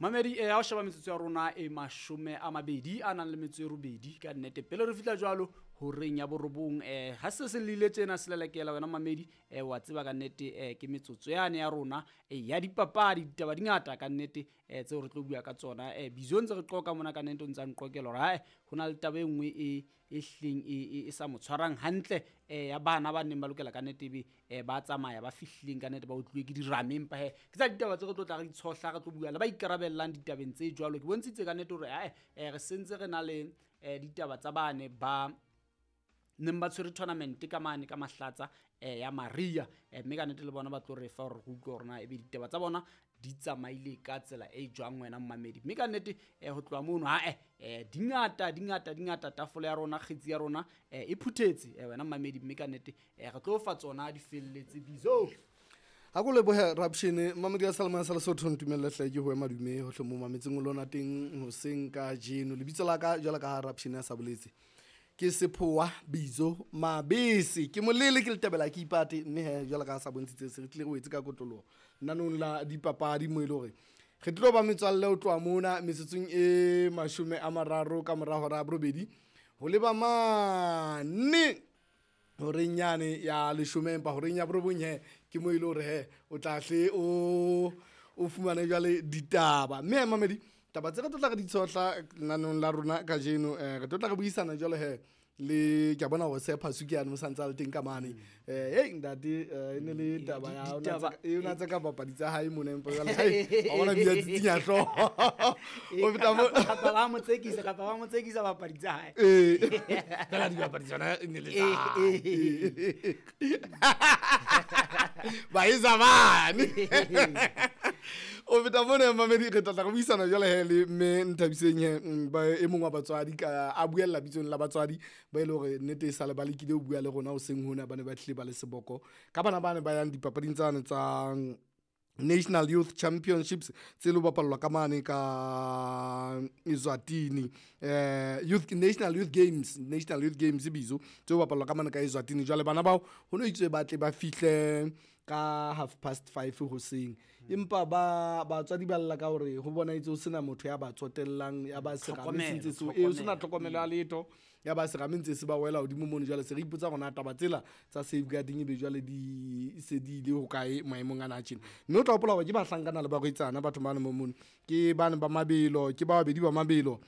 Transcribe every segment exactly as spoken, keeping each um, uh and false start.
Mamedi, eh, ha o sheba metsotso ya rona e mashome a mabedi a nang le metso e robedi ka nnete pele re fihla jwalo horeng ya borobong, eh, ha se se lile tjena se lelekela wena mamedi, eh, wa tseba ka nnete, eh, ke metsotso yane ya rona eh, ya dipapadi. Ditaba di ngata ka nnete, eh, tseo re tlo bua ka tsona. eh, Bizo ntse re qoka mona ka nnete, o ntsa nqokela hore hae ho na le taba e nngwe e e hlileng e, e, e sa mo tshwarang hantle, eh, ya bana ba neng ba lokela ka nnete ebe, eh, ba tsamaya ba fihlileng ka nnete ba utluwe ke dirame. Empa he ke tsa ditaba tse re tlo tla re di tshohla, re tlo bua le ba ikarabellang ditabeng tse jwalo. Ke bontshitse ka nnete hore ae, eh, re sentse re na le, eh, ditaba tsa bane ba neng ba tshwere tournament ka mane ka Mahlatsa, eh, ya Maria, eh, mme ka nnete le bona ba tlo re fa hore re utlwe hore na ebe ditaba tsa bona di tsamaile ka tsela e jwang wena mmamedi. Mme ka nnete, eh, ho tloha mono ha eh, di ngata di ngata di ngata, tafole ya rona, kgetsi ya rona, eh, e phuthetse, eh, wena mmamedi. Mme ka nnete, eh, re tlo fa tsona di felletse Bizo. Ha ko lebohe Rapshene mamedi ya Salman sa Lesotho, ntumelle hle ke ho ema dume hohle mo mametseng o lona teng hoseng ka jeno. Lebitso la ka jwalo ka ha Rapshene a sa boletse ke Sephoa Bizo Mabese, ke molele ke letebela ke ipate, mme he jwalo ka ha sa bontshitse se re tlile re wetse ka kotloloho nanong la dipapadi mo e le hore re tlo ba metswalle ho tloha mona metsotsong e mashome a mararo ka mora hora ya borobedi ho leba mane horeng yane ya leshome, empa horeng ya borobong he ke mo e le hore he o tla hle o o fumane jwale ditaba. Mme he mamedi, taba tse re tlo tla re di tshohla lenaneng la rona kajeno, eh, re tlo tla re buisana jwale he le ke a bona hore se Phasuke yane o santse a le teng ka mane. Eh, hey ntate, eh, e ne le Mm, taba di- ya o na ditaba- tse ka- e o na tse ka papadi tsa hae mona, empa jwale hai wa bona bia tsitsinya hlooho. O feta mo- Kapa ba mo tsekisa, kapa ba mo tsekisa papadi tsa hae. Eh, fela dibapadi tsona e ne le tsa hae. Eh, Baisa bane. O feta mona mamedi, re tla tla re buisana jwale he le mme Nthabiseng he, mm, ba e mong wa batswadi ka a buella bitsong la batswadi ba e le hore nnete e sale ba lekile ho bua le rona hoseng hona, ba ne ba tlile ba le seboko ka bana ba ne ba yang dipapading tsane tsa National Youth Championships tse lo bapallwa ka mane ka Eswatini, eh, Youth National Youth Games, National Youth Games bizo tse bapallwa ka mane ka Eswatini. Jwale bana bao ho no itswe ba tle ba fihle ka half past five hoseng, empa ba batswadi ba lla ka hore ho bona itse ho sena motho ya ba tsotellang, ya ba serame se ntse se e ho sena tlhokomelo ya letho, ya ba serame ntse se ba wela hodimo mono. Jwale se re ipotsa hore na taba tsela tsa safeguarding ebe jwale di se di ile hokae maemong ana a tjena. Mme o tla hopola hore ke bahlankana le barwetsana batho bana mo mono, ke bana ba mabelo, ke ba babedi ba mabelo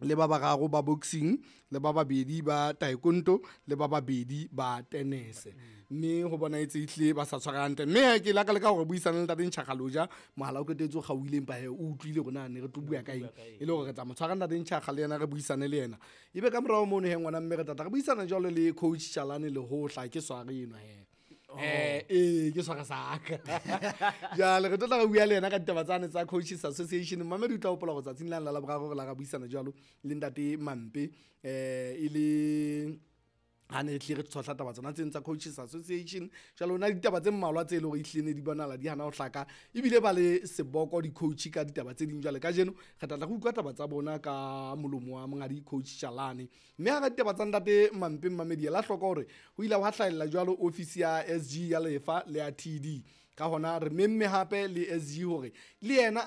le ba bararo ba boxing, le ba babedi ba taekwondo, le ba babedi ba tennis. Mme ho bona etse ehlile ba sa tshwara hantle. Mme he ke laka le ka hore buisana le ntate Ntjhakgaloja, mohala o qetetse o kgaohile, empa he o utlwile hore na ne re tlo bua ka eng, e le hore re tla mo tshwara ntate Ntjhakga le yena re buisane le yena. Ebe ka morao mono he ngwana mme re tla tla re buisana jwalo le coach Chalane Lehohla, ke sware enwa he. Eh, eh, ke swara saka. Jwale re tlo tla re bua le yena ka ditaba tsane tsa Coaches Association. Mamedi o tla hopola hore tsatsing lane la Laboraro re la ra buisana jwalo le ntate Mampe, eh, e le ha ne tlile re tshohla taba tsona tseno tsa Coaches Association. Jwale ho na le ditaba tse mmalwa tse e leng hore ehlile ne di bonahala di hana ho hlaka, ebile ba le seboko di-coach ka ditaba tse ding. Jwale kajeno re tla tla re utlwa taba tsa bona ka molomo wa monghadi Coach Chalane. Mme ha re ditaba tsa ntate Mampe Mamedi, ela hloko hore ho ile hwa hlahella jwalo office ya S G ya Lefa le ya T D. Ka hona re memme hape le S G hore le yena